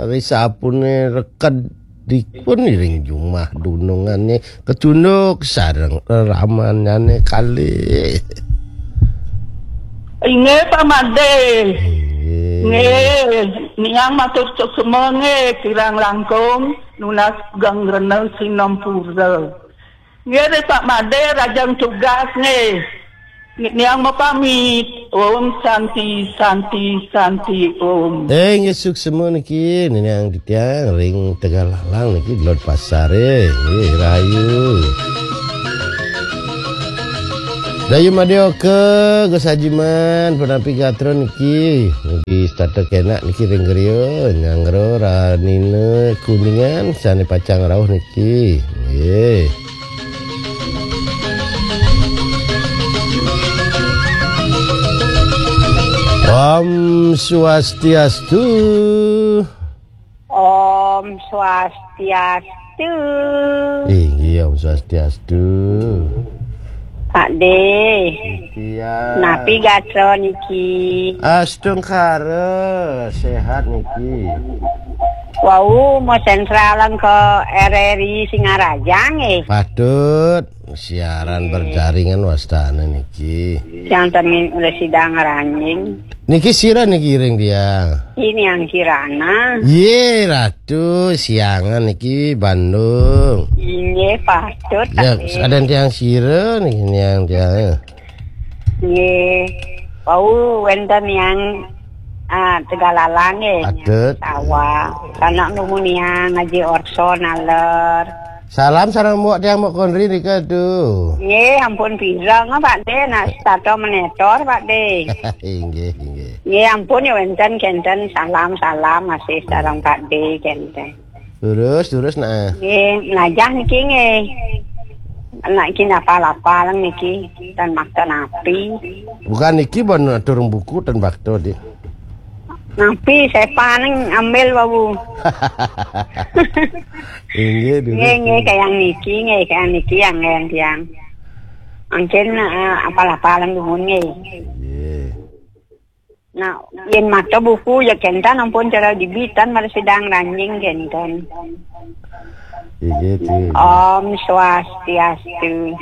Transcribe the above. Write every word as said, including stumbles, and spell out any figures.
Ri sapune reked dipun iring jumah dunungane kecunduk sareng reramanyane kalih. Inggih, Pak Made. Inggih. Nggih, niang matur suksma nggih, kirang langkung nunas geng rena sinampura. Nggih, Pak Made, rajang tugas nggih. Niang mapamit. Om Santi, Santi, Santi, Om. Eh, nggih, suksma niki, niang titiang ring Tegallalang niki, Glod Pasar, eh. Nggih, rahayu. Dayu Madya Oka, Gus Ajiman, punapi gatra niki. Niki setata kenak niki ring griya, nyanggra ranina Kuningan, sane pacang rauh niki. Nggih. Om Swastiastu. Om Swastiastu. Inggih, Om Swastiastu. Pak De. Iya. Napi gatra niki? Astungkara, sehat niki. Wau, mau sentralan ke R R I Singaraja nggih. Patut, siaran berjaringan wastane niki. Yang temin udah sidang ranjing. Niki sira niki ring dia. Ini yang Kirana. Ye, Ratu, siangan niki Bandung. Inggih, patut. Ya, Pak De. Ada tiang sira niki, niang tiang. Nggih. Wau wenten yang, ah, Tegallalang nggih. Patut. Sawah. Sanak numun yang ngaji orso naler. Salam sareng mbok tiang mbok konri nika tu. Nggih, ampun pireng, Pak De, nak setata menetor, Pak De. Inggih, inggih. Nggih, ampun ya wenten kenten salam-salam masih sareng Pak De kenten. Terus, terus, nah. Nggih, melajah niki nggih. Anak iki napa-lapa lang niki, tan makta napi. Bukan niki, bon atur buku tan bakto, Dik. Napi, sepan nang ambil, Babu. Inggih, dulu. Nggih, nggih, kayang niki, nggih, kayang niki yang ngen tiang. Mungkin, eh, apa-lapa lang dumun nggih. Inggih. Nah, yen mata buku ya kenten ampun cara dibitan mara sidang ranjing kenten. Inggih, Dik. Om Swastiastu.